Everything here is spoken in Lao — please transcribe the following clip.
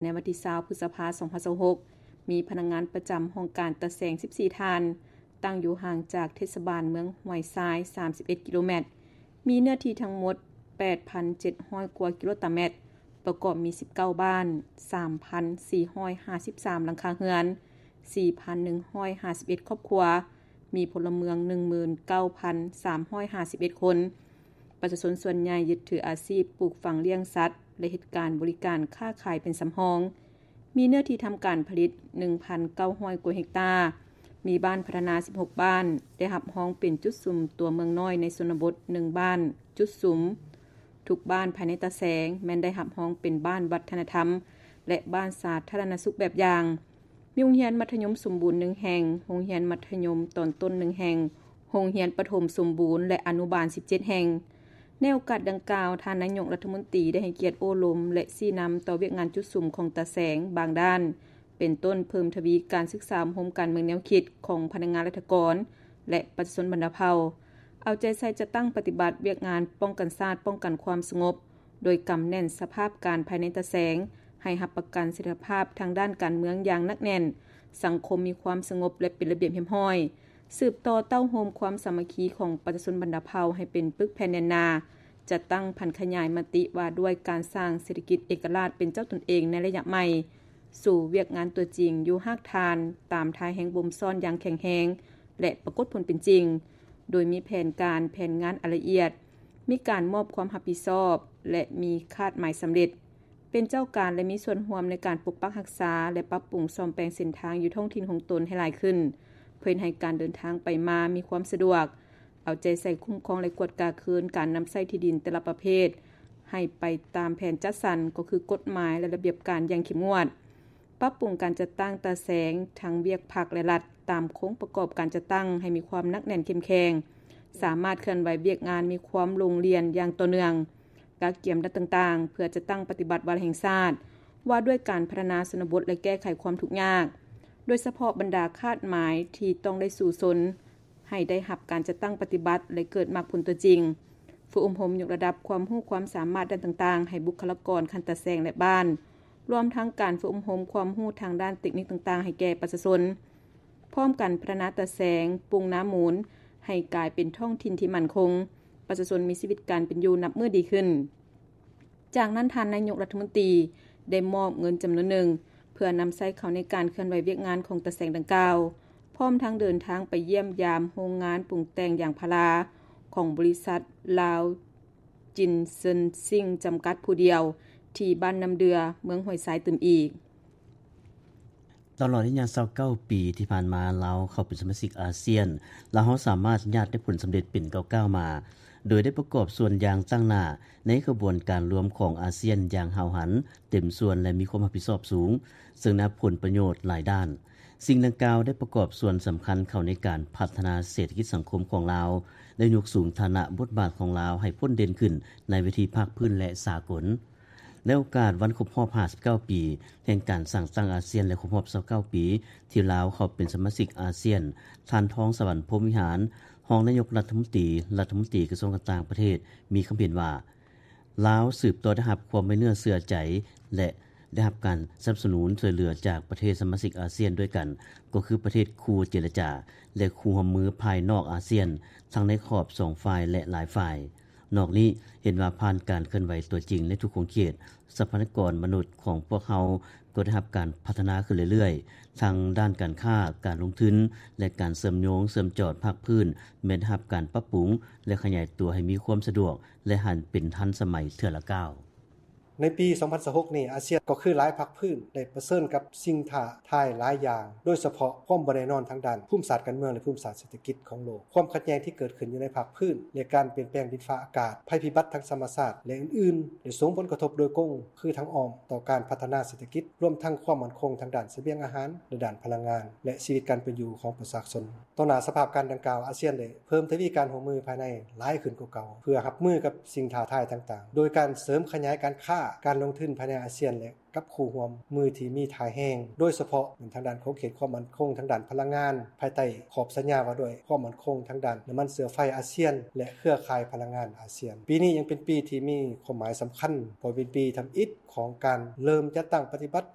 ໃນວັນທີຊາວ ພຶດສະພາ ສອງພັນຊາວຫົກ ມີພະນັກງານປະຈຳຫ້ອງການຕາແສງ ສິບສີ່ ທ່ານ, ຕັ້ງຢູ່ຫ່າງຈາກເທດສະບານເມືອງຫ້ວຍຊາຍ ສາມສິບເອັດ ກິໂລແມັດ, ມີເນື້ອທີ່ທັງໝົດ ແປດພັນເຈັດຮ້ອຍ ກວ່າກິໂລຕາແມັດ, ປະກອບມີ ສິບເກົ້າ ບ້ານ, ສາມພັນສີ່ຮ້ອຍຫ້າສິບສາມ ຫຼັງຄາເຮືອນ, ສີ່ພັນໜຶ່ງຮ້ອຍຫ້າສິບເອັດ ຄອບຄົວ, ມີພົນລະເມືອງ ໜຶ່ງໝື່ນເກົ້າພັນສາມຮ້ອຍຫ້າສິບເອັດ ຄົນ. ປະຊາຊົນສ່ວນໃຫຍ່ຍຶດຖືອາຊີບປູກຝັງລ້ຽງສັດ ແລະ ເຮັດການບໍລິການຄ້າຂາຍເປັນສຳຮອງ. ມີເນື້ອທີ່ທຳການຜະລິດ ໜຶ່ງພັນເກົ້າຮ້ອຍ ກວ່າເຮັກຕາ, ມີບ້ານພັດທະນາ ສິບຫົກ ບ້ານ, ໄດ້ຮັບຮອງເປັນຈຸດສຸມຕົວເມືອງນ້ອຍໃນຊົນນະບົດ ໜຶ່ງ ບ້ານ, ຈຸດສຸມ. ທຸກບ້ານພາຍໃນຕາແສງແມ່ນໄດ້ຮັບຮອງເປັນບ້ານວັດທະນະທຳ ແລະ ບ້ານສາທາລະນະສຸກແບບຢ່າງ. ມີໂຮງຮຽນມັດທະຍົມສົມບູນ ໜຶ່ງ ແຫ່ງ, ໂຮງຮຽນມັດທະຍົມຕອນຕົ້ນ ໜຶ່ງ ແຫ່ງ, ໂຮງຮຽນປະຖົມສົມບູນ ແລະ ອະນຸບານ ສິບເຈັດ ແຫ່ງ. ໃນໂອກາດດັ່ງກ່າວ, ທ່ານນາຍົກລັດຖະມົນຕີໄດ້ໃຫ້ກຽດໂອ້ລົມ ແລະ ຊີ້ນຳຕໍ່ວຽກງານຈຸດສຸມຂອງຕາແສງບາງດ້ານ, ເປັນຕົ້ນເພີ່ມທະວີການສຶກສາອົບຮົມການເມືອງແນວຄິດຂອງພະນັກງານລັດຖະກອນ ແລະ ປະຊາຊົນບັນດາເຜົ່າ, ເອົາໃຈໃສ່ຈັດຕັ້ງປະຕິບັດວຽກງານປ້ອງກັນຊາດ, ປ້ອງກັນຄວາມສະຫງົບ, ໂດຍກຳແໜ້ນສະພາບການພາຍໃນຕາແສງ, ໃຫ້ຮັບປະກັນສະຖຽນລະພາບທາງດ້ານການເມືອງຢ່າງໜັກແໜ້ນ, ສັງຄົມມີຄວາມສະຫງົບ ແລະ ເປັນລະບຽບຮຽບຮ້ອຍ, ສືບຕໍ່ເຕົ້າໂຮມຄວາມສາມັກຄີຂອງປະຊາຊົນບັນດາເຜົ່າໃຫ້ເປັນປຶກແຜ່ນແໜ້ນໜາ, ຈັດຕັ້ງຜັນຂະຫຍາຍມະຕິວ່າດ້ວຍການສ້າງເສດຖະກິດເອກະລາດເປັນເຈົ້າຕົນເອງໃນໄລຍະໃໝ່, ສູ່ວຽກງານຕົວຈິງຢູ່ຮາກຖານ, ຕາມທ່າແຮງບົ່ມຊ້ອນຢ່າງແຂງແຮງ ແລະ ປາກົດຜົນເປັນຈິງ, ໂດຍມີແຜນການ, ແຜນງານອັນລະອຽດ, ມີການມອບຄວາມຮັບຜິດຊອບ ແລະ ມີຄາດໝາຍສຳເລັດ, ເປັນເຈົ້າການ ແລະ ມີສ່ວນຮ່ວມໃນການປົກປັກຮັກສາ ແລະ ປັບປຸງສ້ອມແປງເສັ້ນທາງຢູ່ທ້ອງຖິ່ນຂອງຕົນໃຫ້ຫຼາຍຂຶ້ນ, ເພື່ອເຮັດໃຫ້ການເດີນທາງໄປມາມີຄວາມສະດວກ, ເອົາໃຈໃສ່ຄຸ້ມຄອງ ແລະ ກວດກາຄືນການນຳໃຊ້ທີ່ດິນແຕ່ລະປະເພດ ໃຫ້ໄປຕາມແຜນຈັດສັນ, ກໍຄືກົດໝາຍ ແລະ ລະບຽບການຢ່າງເຂັ້ມງວດ. ປັບປຸງການຈັດຕັ້ງຕາແສງທັງວຽກພັກ ແລະ ລັດ ຕາມໂຄງປະກອບການຈັດຕັ້ງໃຫ້ມີຄວາມໜັກແໜ້ນເຂັ້ມແຂງ, ສາມາດເຄື່ອນໄຫວວຽກງານມີຄວາມລົງລຽນຢ່າງຕໍ່ເນື່ອງ, ກະກຽມດ້ານຕ່າງໆ ເພື່ອຈັດຕັ້ງປະຕິບັດວາລະແຫ່ງຊາດ ວ່າດ້ວຍການພັດທະນາຊົນນະບົດ ແລະ ແກ້ໄຂຄວາມທຸກຍາກ, ໂດຍສະເພາະບັນດາຄາດໝາຍທີ່ຕ້ອງໄດ້ສູ້ຊົນ ໃຫ້ໄດ້ຮັບການຈັດຕັ້ງປະຕິບັດ ແລະ ເກີດໝາກຜົນຕົວຈິງ. ຝຶກອົບຮົມຍົກລະດັບຄວາມຮູ້ຄວາມສາມາດດ້ານຕ່າງໆ ໃຫ້ບຸກຄະລາກອນຂັ້ນຕາແສງ ແລະ ບ້ານ, ລວມທັງການຝຶກອົບຮົມຄວາມຮູ້ທາງດ້ານເຕັກນິກຕ່າງໆ ໃຫ້ແກ່ປະຊາຊົນ, ພ້ອມກັນພັດທະນາຕາແສງ, ປຸງນາມູນ ໃຫ້ກາຍເປັນທ້ອງຖິ່ນທີ່ໝັ້ນຄົງ, ປະຊາຊົນມີຊີວິດການເປັນຢູ່ນັບມື້ດີຂຶ້ນ. ຈາກນັ້ນທ່ານນາຍົກລັດຖະມົນຕີໄດ້ມອບເງິນຈຳນວນໜຶ່ງ ເພື່ອນຳໃຊ້ເຂົ້າໃນການເຄື່ອນໄຫວວຽກງານຂອງຕາແສງດັ່ງກ່າວ, ພ້ອມທັງເດີນທາງໄປຢ້ຽມຢາມໂຮງງານປຸງແຕ່ງຢາງພາລາຂອງບໍລິສັດລາວຈິນເຊິນຊິງຈຳກັດຜູ້ດຽວ ທີ່ບ້ານນ້ຳເດື່ອ ເມືອງຫ້ວຍຊາຍຕື່ມອີກ. ຕະຫຼອດໄລຍະຊາວເກົ້າປີທີ່ຜ່ານມາ ລາວເຂົ້າເປັນສະມາຊິກອາຊຽນ, ລາວເຮົາສາມາດຍາດໄດ້ຜົນສຳເລັດເປັນກ້າວໆມາ, ໂດຍໄດ້ປະກອບສ່ວນຢ່າງຕັ້ງໜ້າໃນຂະບວນການລວມຂອງອາຊຽນຢ່າງຫ້າວຫັນ, ເຕັມສ່ວນ ແລະ ມີຄວາມຮັບຜິດຊອບສູງ, ເຊິ່ງໄດ້ຮັບຜົນປະໂຫຍດຫຼາຍດ້ານ. ສິ່ງດັ່ງກ່າວໄດ້ປະກອບສ່ວນສຳຄັນເຂົ້າໃນການພັດທະນາເສດຖະກິດສັງຄົມຂອງລາວ, ໄດ້ຍົກສູງຖານະບົດບາດຂອງລາວໃຫ້ພົ້ນເດັ່ນຂຶ້ນໃນເວທີພາກພື້ນ ແລະ ສາກົນ. ໃນໂອກາດວັນຄົບຮອບຫ້າສິບເກົ້າປີ ແຫ່ງການສ້າງຕັ້ງອາຊຽນ ແລະ ຄົບຮອບຊາວເກົ້າປີ ທີ່ລາວເຂົ້າເປັນສະມາຊິກອາຊຽນ, ທ່ານ ທອງສະຫວັນ ພົມວິຫານ ຮອງນາຍົກລັດຖະມົນຕີ, ລັດຖະມົນຕີກະຊວງການຕ່າງປະເທດ ມີຄຳເຫັນວ່າ ລາວສືບຕໍ່ໄດ້ຮັບຄວາມໄວ້ເນື້ອເຊື່ອໃຈ ແລະ ໄດ້ຮັບການສະໜັບສະໜູນຊ່ວຍເຫຼືອຈາກປະເທດສະມາຊິກອາຊຽນດ້ວຍກັນ, ກໍຄືປະເທດຄູ່ເຈລະຈາ ແລະ ຄູ່ຮ່ວມມືພາຍນອກອາຊຽນ, ທັງໃນຂອບສອງຝ່າຍ ແລະ ຫຼາຍຝ່າຍ. ນອກນີ້ເຫັນວ່າຜ່ານການເຄື່ອນໄຫວຕົວຈິງໃນທຸກຂົງເຂດ, ຊັບພະຍາກອນມະນຸດຂອງພວກເຮົາກໍໄດ້ຮັບການພັດທະນາຂຶ້ນເລື້ອຍໆ, ທັງດ້ານການຄ້າ, ການລົງທຶນ ແລະ ການເຊື່ອມໂຍງເຊື່ອມຈອດພາກພື້ນ ແມ່ນໄດ້ຮັບການປັບປຸງ ແລະ ຂະຫຍາຍຕົວໃຫ້ມີຄວາມສະດວກ ແລະ ຫັນເປັນທັນສະໄໝເທື່ອລະກ້າວ. ໃນປີສອງພັນຊາວຫົກນີ້ ອາຊຽນກໍຄືຫຼາຍພາກພື້ນໄດ້ປະເຊີນກັບສິ່ງທ້າທາຍຫຼາຍຢ່າງ, ໂດຍສະເພາະຄວາມບໍ່ແນ່ນອນທາງດ້ານພູມສາດການເມືອງ ແລະ ພູມສາດເສດຖະກິດຂອງໂລກ, ຄວາມຂັດແຍ່ງທີ່ເກີດຂຶ້ນຢູ່ໃນພາກພື້ນ ແລະ ການປ່ຽນແປງດິນຟ້າອາກາດ, ໄພພິບັດທາງທຳມະຊາດ ແລະ ອື່ນໆ ໄດ້ສົ່ງຜົນກະທົບໂດຍກົງ ຄືທາງອ້ອມຕໍ່ການພັດທະນາເສດຖະກິດ, ລວມທັງຄວາມໝັ້ນຄົງທາງດ້ານສະບຽງອາຫານ ແລະ ດ້ານພະລັງງານ ແລະ ຊີວິດການເປັນຢູ່ຂອງປະຊາຊົນ. ຕໍ່ໜ້າສະພາບການດັ່ງກ່າວ, ອາຊຽນໄດ້ເພີ່ມທະວີການຮ່ວມມືພາຍໃນຫຼາຍຂຶ້ນກວ່າເກົ່າ ເພື່ອຮັບມືກັບສິ່ງທ້າທາຍຕ່າງໆ, ໂດຍການເສີມຂະຫຍາຍການຄ້າ, ການລົງທຶນພາຍໃນອາຊຽນ ແລະ ກັບຄູ່ຮ່ວມມືທີ່ມີທ່າແຮງ, ໂດຍສະເພາະແມ່ນທາງດ້ານຂົງເຂດຄວາມໝັ້ນຄົງທາງດ້ານພະລັງງານ ພາຍໃຕ້ຂອບສັນຍາວ່າດ້ວຍຄວາມໝັ້ນຄົງທາງດ້ານນ້ຳມັນເຊື້ອໄຟອາຊຽນ ແລະ ເຄືອຂ່າຍພະລັງງານອາຊຽນ. ປີນີ້ຍັງເປັນປີທີ່ມີຄວາມໝາຍສຳຄັນ, ເພາະເປັນປີທຳອິດຂອງການເລີ່ມຈັດຕັ້ງປະຕິບັດ